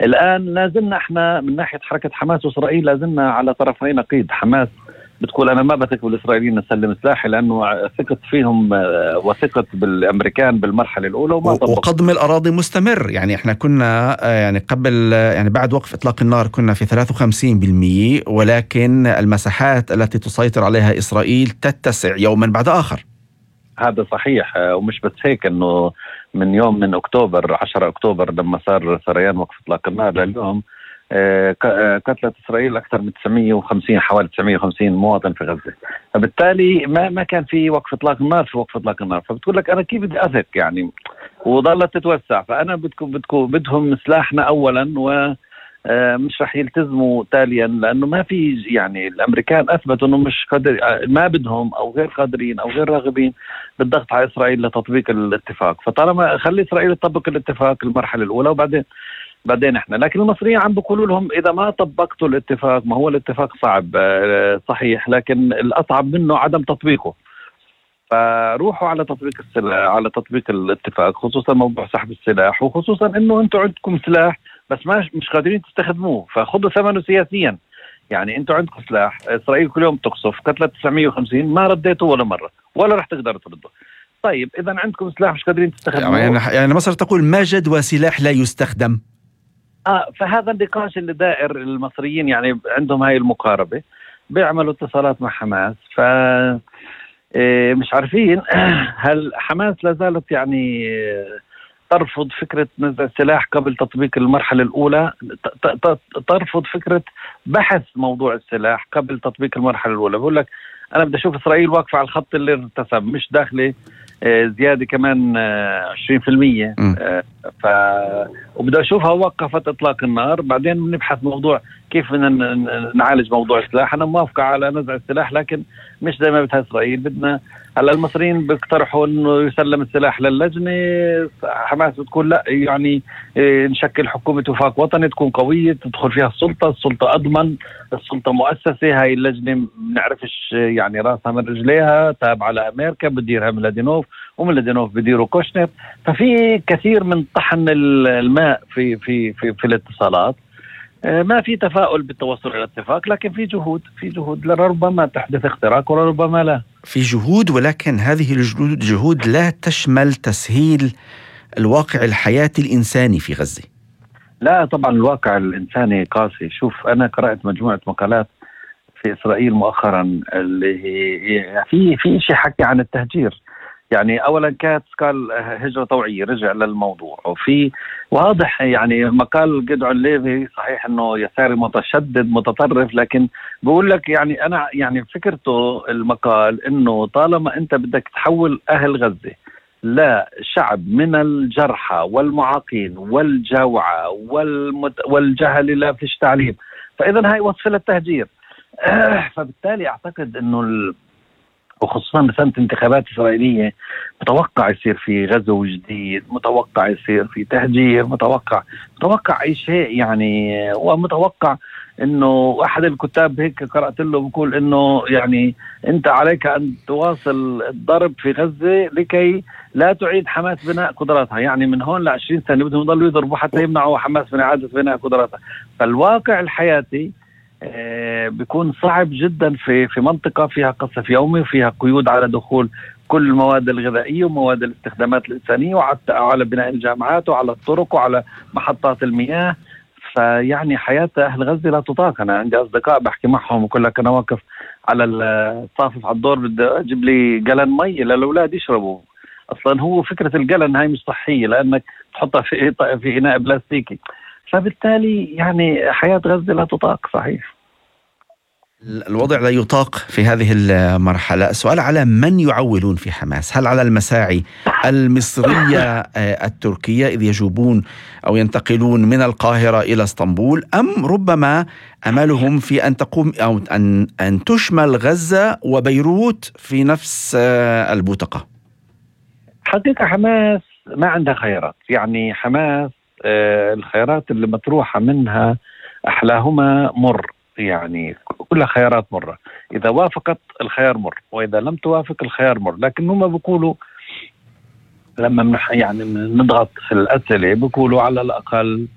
الآن لازلنا احنا من ناحية حركة حماس وإسرائيل لازلنا على طرفي نقيض. حماس بتقول أنا ما بثق بالإسرائيليين نسلم سلاحي لأنه ثقت فيهم وثقت بالأمريكان بالمرحلة الأولى وما طبقوا. وقضم الأراضي مستمر. يعني احنا كنا يعني قبل يعني بعد وقف إطلاق النار كنا في 53%، ولكن المساحات التي تسيطر عليها إسرائيل تتسع يوما بعد آخر. هذا صحيح. ومش بس هيك، انه من أكتوبر 10 أكتوبر لما صار سريان وقف إطلاق النار لليوم قتلت إسرائيل أكثر من 950 حوالي 950 مواطن في غزة. فبالتالي ما كان في وقف إطلاق النار في وقف إطلاق النار. فبتقول لك أنا كيف بدي أثق يعني، وظلت تتوسع. فأنا بدهم سلاحنا أولا، ومش رح يلتزموا تاليا، لأنه ما في يعني الأمريكان أثبتوا أنه مش قادر، ما بدهم أو غير قادرين أو غير راغبين بالضغط على إسرائيل لتطبيق الاتفاق. فطالما خلي إسرائيل تطبق الاتفاق المرحلة الأولى وبعدين احنا. لكن المصريين عم بيقولوا لهم اذا ما طبقتوا الاتفاق، ما هو الاتفاق صعب صحيح، لكن الاصعب منه عدم تطبيقه. فروحوا على تطبيق السلاح، على تطبيق الاتفاق، خصوصا موضوع سحب السلاح، وخصوصا انه انتم عندكم سلاح بس مش قادرين تستخدموه، فخذوا ثمنه سياسيا. يعني انتم عندكم سلاح، اسرائيل كل يوم تقصف، قتلت 950 ما رديته ولا مره، ولا رح تقدروا ترده. طيب اذا عندكم سلاح مش قادرين تستخدموه، يعني مصر تقول ما جدوى سلاح لا يستخدم. فهذا النقاش اللي دائر. المصريين يعني عندهم هاي المقاربة، بيعملوا اتصالات مع حماس، ف مش عارفين هل حماس لازالت يعني ترفض فكرة نزع السلاح قبل تطبيق المرحلة الأولى، ترفض فكرة بحث موضوع السلاح قبل تطبيق المرحلة الأولى. بقول لك أنا بدي أشوف إسرائيل واقفة على الخط اللي ارتسم، مش داخلة زيادة كمان 20%. وبدأ أشوفها وقفت إطلاق النار، بعدين نبحث موضوع كيف نعالج موضوع السلاح. أنا موافقة على نزع السلاح، لكن مش زي ما بدها إسرائيل. بدنا هلا المصريين بيقترحوا إنه يسلم السلاح للجنة، حماس بتقول لا، يعني نشكل حكومة وفاق وطني تكون قوية تدخل فيها السلطة أضمن، السلطة مؤسسة. هاي اللجنة بنعرفش يعني راسها من رجليها، تابعة لأمريكا، بديرها ميلادينوف، وميلادينوف بديره كوشنر. ففي كثير من طحن الماء في الاتصالات. ما في تفاؤل بالتوصل إلى الاتفاق، لكن في جهود لربما تحدث اختراق وربما لا. في جهود، ولكن هذه الجهود لا تشمل تسهيل الواقع الحياتي الإنساني في غزة. لا طبعا الواقع الإنساني قاسي. شوف أنا قرأت مجموعة مقالات في إسرائيل مؤخرا اللي هي في شيء حكي عن التهجير. يعني أولا كانت قال هجرة طوعية، رجع للموضوع، وفي واضح يعني مقال جدعون ليفي صحيح أنه يساري متشدد متطرف، لكن بقول لك يعني أنا يعني فكرته المقال أنه طالما أنت بدك تحول أهل غزة لا شعب من الجرحى والمعاقين والجوعى والجهل لا فيش تعليم، فإذا هاي وصف للتهجير. فبالتالي أعتقد أنه وخصوصا بسنة انتخابات إسرائيلية متوقع يصير في غزو جديد، متوقع يصير في تهجير، متوقع أي شيء يعني. ومتوقع إنه أحد الكتاب هيك قرأت له بيقول إنه يعني أنت عليك أن تواصل الضرب في غزة لكي لا تعيد حماس بناء قدراتها. يعني من هون ل20 سنة بدهم يضلوا يضربوا حتى يمنعوا حماس من إعادة بناء قدراتها. فالواقع الحياتي بيكون صعب جدا في منطقة فيها قصف يومي وفيها قيود على دخول كل المواد الغذائية ومواد الاستخدامات الإنسانية، وعلى بناء الجامعات وعلى الطرق وعلى محطات المياه. فيعني حياة أهل غزة لا تطاق. أنا عندي أصدقاء بحكي معهم وكل لك أنا واقف على الصافف على الدور بدي أجيب لي جلن مي للأولاد يشربوا. أصلا هو فكرة الجلن هاي مش صحية لأنك تحطها في إناء بلاستيكي. فبالتالي يعني حياة غزة لا تطاق صحيح. الوضع لا يطاق في هذه المرحلة. السؤال على من يعولون في حماس؟ هل على المساعي المصرية التركية إذ يجوبون أو ينتقلون من القاهرة إلى اسطنبول، أم ربما أملهم في أن تقوم أو أن تشمل غزة وبيروت في نفس البوتقة؟ حقيقة حماس ما عندها خيارات. يعني حماس الخيارات اللي مطروحة منها أحلاهما مر، يعني كلها خيارات مرة. إذا وافقت الخيار مر، وإذا لم توافق الخيار مر. لكن هم بيقولوا لما يعني نضغط في الأسئلة بيقولوا على الأقل